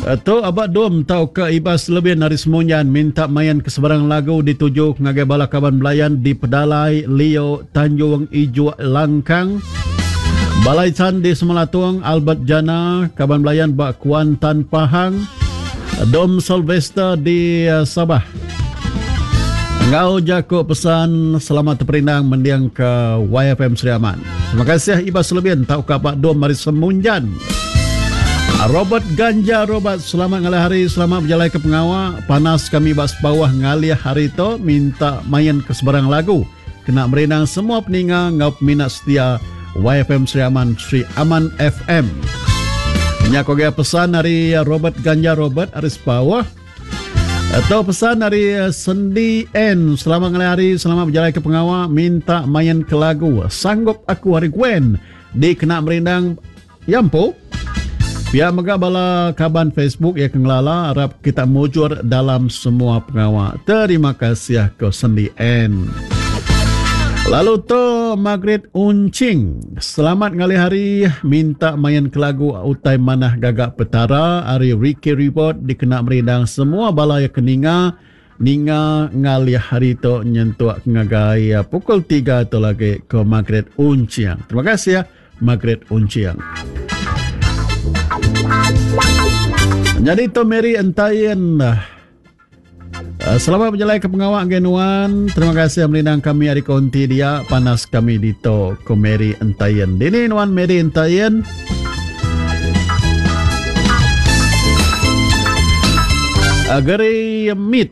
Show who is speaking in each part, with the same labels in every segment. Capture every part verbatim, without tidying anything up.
Speaker 1: Tu Abak Dom tauka Ibas Lebin ari Semunjan minta main ke sebarang lagu dituju ngagai bala kaban belayan di Pedalai, Lio, Tanjung, Ijuk, Langkang, Balai Chan di Semelatung, Albert Jana, kaban belayan ba Kuantan Pahang, Dom Sylvester di Sabah. Enggau jaku pesan selamat teperindang mending ke Y F M Sri Aman. Terima kasih Ibas Lebin tauka Abak Dom ari Semunjan. Robert Ganja Robert, selamat ngalih hari, selamat berjalai ke pengawa. Panas kami bas bawah ngalih hari tu, minta main ke sebarang lagu. Kena merindang semua peninga ngau peminat setia Y F M Sri Aman, Sri Aman F M. Nya ko gaya pesan dari Robert Ganja Robert ari Sepawah. Atau pesan dari Sendi N, selamat ngalih hari, selamat berjalai ke pengawa, minta main ke lagu Sanggup Aku Hari Gwen di kena merindang Yampo. Pia mega bala kaban Facebook yang kengelala, harap kita mujur dalam semua pengawa. Terima kasih ke Sendi N. Lalu tu Margaret Uncing, selamat ngalih hari, minta main ke lagu Utai Manah Gagak Petara ari Ricky Report dikena merindang semua bala yang keninga ninga ngalih hari tu nyentuk ngagai pukul tiga tu lagi ke Margaret Uncing. Terima kasih ya Margaret Uncing. Jadi tu Mary Entayin, selamat berjalan ke pengawak genuan. Terima kasih melindang kami hari konti dia. Panas kami di to ko Mary Entayin. Dini nuan Mary Entayin. Geri Meat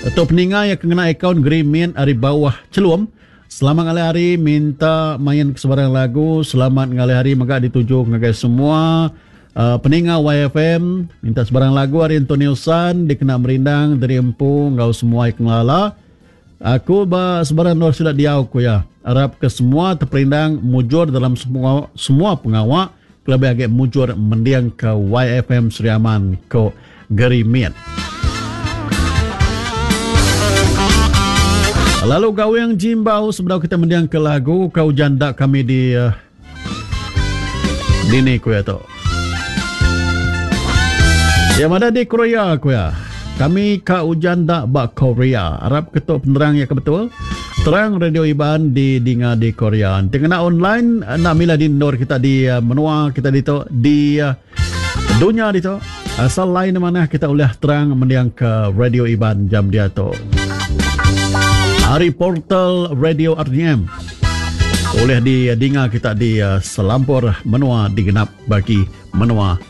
Speaker 1: atau peninga yang kena akaun Geri Meat hari bawah celum. Selamat ngalih hari, minta main ke sebarang lagu. Selamat ngalih hari mega dituju ngagai semua Uh, peninga Y F M, minta sebarang lagu hari Antonio San dikena merindang dari empu ngau semua yang ngelala. Aku ba sebarang nur sudah diau ku ya. Harap ke semua terperindang mujur dalam semua semua pengawak, kelebih agak mujur mendiang ke Y F M Sri Aman ko Gerimit. Lalu gaweng jimbau sebelum kita mendiang ke lagu kau janda kami di uh, dini ku ya tu. Yang ada di Korea aku ya. Kami ka ujan dak bak Korea. Harap ketuk penerang yang betul. Terang Radio Iban di dinga di Korea. Tengah online nak mila di ndor kita di uh, menua kita di tu di uh, dunia di tu. Asal lain mana kita boleh terang mendiang ke Radio Iban jam dia tu. Hari portal Radio R D M. Boleh di dinga kita di uh, selampur menua digenap bagi menua